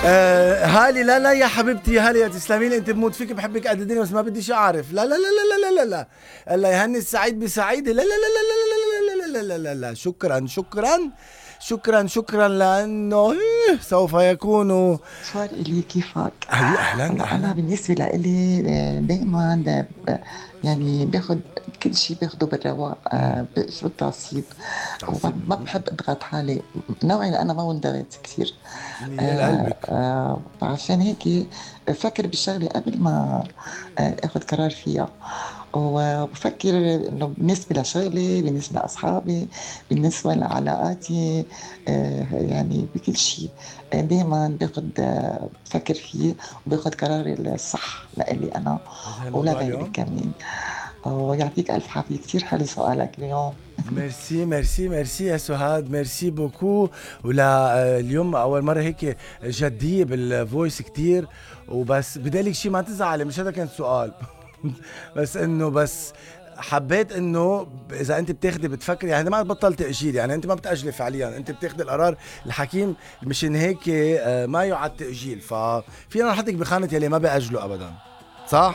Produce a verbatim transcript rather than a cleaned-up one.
آه هالي لا لا يا حبيبتي، هالي يا تسلمي لي، انت بموت فيك بحبك قد الدنيا بس ما بديش اعرف. لا لا لا لا لا لا لا الله يهني السعيد بسعيده. لا لا لا لا لا لا لا لا لا لا لا. شكرا شكرا شكرا شكرا لانه سوف يكون صار إلي كيفك. هلا اهلا هلا أنا اهلا. بالنسبة لإلي دائما يعني باخد كل شيء باخده بالرواق، آه، بشرب تعصيب وما تعصيب. ما بحب اضغط حالي. نوعي لأنا ما بنضغط كثير. يا آه، لقلبك. آه، عشان هيك بفكر بالشغلة قبل ما آه، اخد قرار فيها. وبفكر انه بالنسبة لشغلي، بالنسبة لأصحابي، بالنسبة لعلاقاتي، آه، يعني بكل شيء دائما باخد آه، بفكر فيه وباخد قراري الصح لإلي أنا هذا الموضوع ولغيري اليوم. كمان. ويعطيك ألف عافية، كتير حلو سؤالك اليوم. ميرسي ميرسي ميرسي يا سهاد، ميرسي بوكو. ولا آه، اليوم اول مره هيك جديه بالفويس كتير. وبس بدي لك شيء، ما تزعلي، مش هذا كان سؤال. بس انه بس حبيت انه اذا انت بتاخدي بتفكري، يعني ما بطل تاجيل، يعني انت ما بتاجلي فعليا، انت بتاخدي القرار الحكيم. مشان هيك آه، ما يعد تاجيل، ففينا نحطك بخانه يلي ما بياجلوا ابدا. صح؟